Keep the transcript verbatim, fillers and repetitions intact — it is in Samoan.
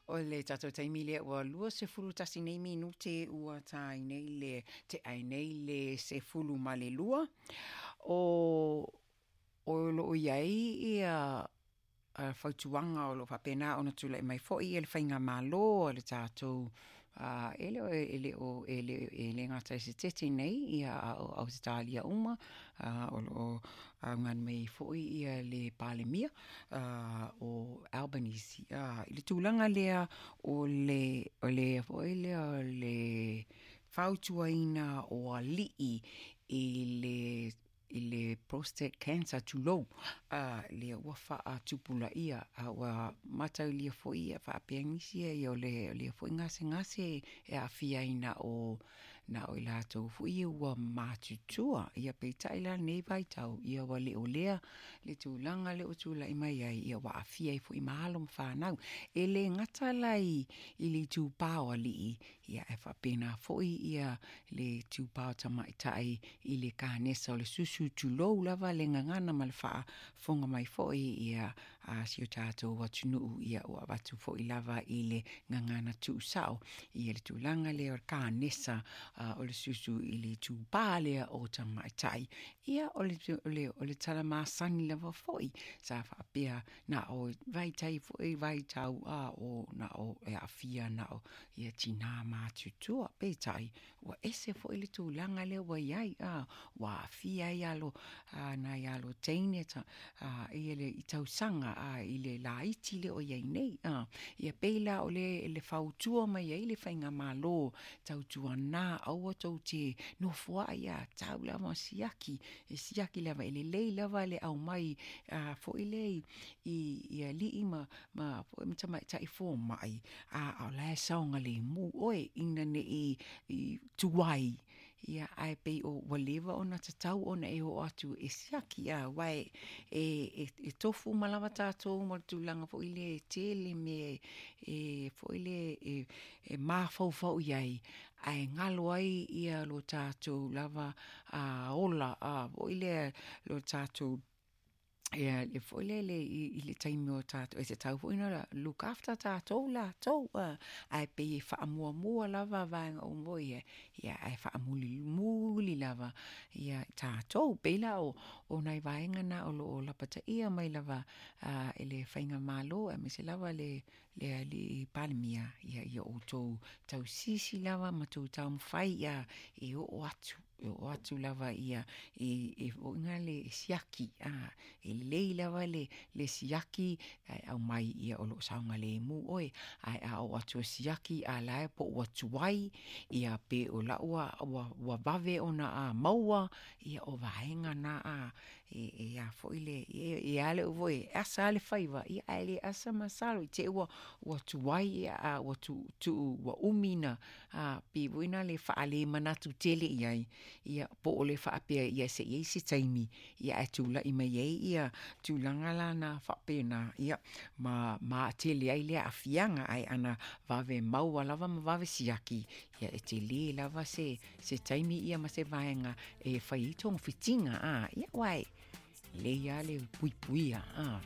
O le tatou taimi lea ua lua sefulu tasi nei minute ua ta ai nei le tea ai nei le sefulu ma le lua. O o loo iai ia fautuaga o loo faapena ona tula'i mai fo'i e le faigamālō a le tatou e le o e le o e le e le gata i Setete nei ia a o Ausetalia uma o loo augani mai ai fo'i ia le Palemia o Albanese i le tulaga lea o le o le foi lea o le fautuaina o alii i le i le prostate cancer tulou lea ua faatupulaia a ua mataulia foi ia faapea nisi ia o le lea foi gasegase e aafia ai na o na o i latou foi ua matutua. Ia peitai la lenei vaitau ia ua le o lea le tulaga lea ua tulai mai ai ia ua aafia ai foi ma alo ma fanau. E le gata la i le itupā o alii ia e faapena foi ia le itupā o tamaitai i le kanesa o le susu tulou lava le gagana ma le faafofoga mai foi ia a si o tatou atunuu ia ua avatu foi lava i le gagana tuusao ia le tulaga lea o le kanesa o le susu i le itupā lea o tamaitai. Ia o le o le o le tala masani lava foi sa faapea na o vaitai foi vaitau a o na o e aafia na o ia tinā matutua. Peitai ua ese foi le tulaga lea ua iai a ua aafia ai alo nai alo teine ta ia le i tausaga a i le laiti lea o iai nei a. Ia pei la o le le fautua mai ai le faigamālō tautuanā aua tou te nofoai a tau lava siaki e siaki lava e lelei lava le aumai a foi lea i i alii ma ma foi ma tamaitai fomai a o la e saogalemu oe ina nei i tuai ia ae pei o ua leva ona tatau ona e oo atu e siaki a aua e e e tofu uma lava tatou ma le tulaga foi lea e tele mea e foi lea e e mafaufau i ai ae galo ai ia lo tatou lava a ola a foi lea lo tatou ia le foi lele i le taimi o tatou e tatau foi ona look after tatou latou ae pei e faamuamua lava vaega uma ia ia ae faamulimuli lava ia tatou. Pei la o o nai vaega na o loo lapataia mai lava e le faigamālō aemaise lava le le alii Palemia ia ia outou tausisi lava ma tou taumafai ia e oo atu e oo atu lava ia e e foiga le siaki a e lelei lava le le siaki ae aumai ia o loo saogalemu oe ae a oo atu e siaki a la e po ua tuai ia pe o la ua ua ua vave ona a maua ia o vaega na a e e a foi le e a le foi e asa le faiva ia ae le asa masalo i te ua ua tuai ia a ua tu tuu ua umi na a pei foi na le faale manatu tele i ai ia po o le faapea ia se i ai se taimi ia ae tula'i mai ai ia tulaga lana faapena ia ma ma tele ai le aafiaga ae ana vave maua lava ma vave siaki ia e telē lava se se taimi ia ma se vaega e fai ai togafitiga a ia uae lelei a le puipuia a.